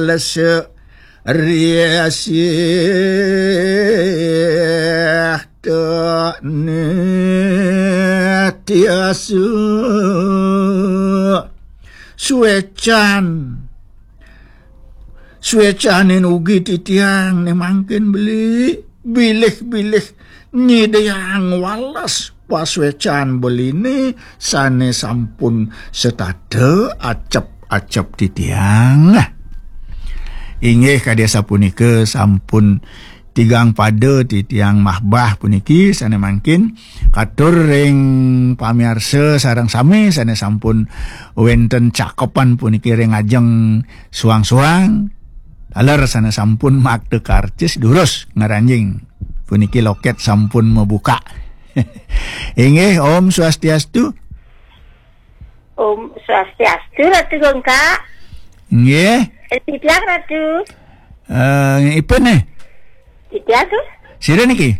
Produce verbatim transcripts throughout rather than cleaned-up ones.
Lese riasih ta nitiasu. Suecan. Suecanin ugi titiang né mangkin beli. Bilih-bilih nyidayang wales pasuecan beliné sané sampun setata acep-acep titiang. Inggih kadi sapunika sampun tigang pada titiang mahbah puniki sané mangkin katur ring pamiarsa sareng sami sané sampun wénten cakepan puniki ring ajeng suang-suang. Taler sané sampun makta karcis durus ngranjing puniki loket sampun mabuka. Inggih, Om Swastiastu. Om Swastiastu, Ratu Gongka. Nggih. Eh, titiang, Ratu. Eh, ipun nih. Titiang tuh. Sira niki?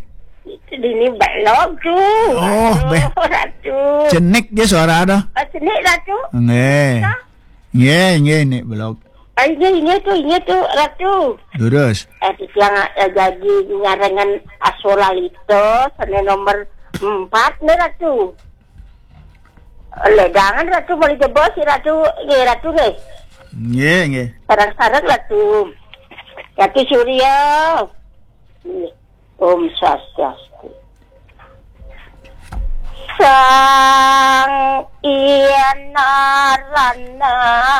Dini belog tuh. Oh, Ratu, beh. Ratu. Cenik dia suara ada. Eh, cenik, Ratu. Nggih. Nggih, nggih, nih belog. Ah, ini, ini tuh, ini tuh, Ratu. Durus. Eh, titiang, eh, jadi nyarengan Aswalalita, sané nomor empat nih, Ratu. Ledangan Ratu, boleh jebos si Ratu, nggih Ratu nggih. Nggih, nggih. Sareng-sareng Ratu. Ratu Surya. Nggih. Om Swastiastu. Sang Ina Ranam.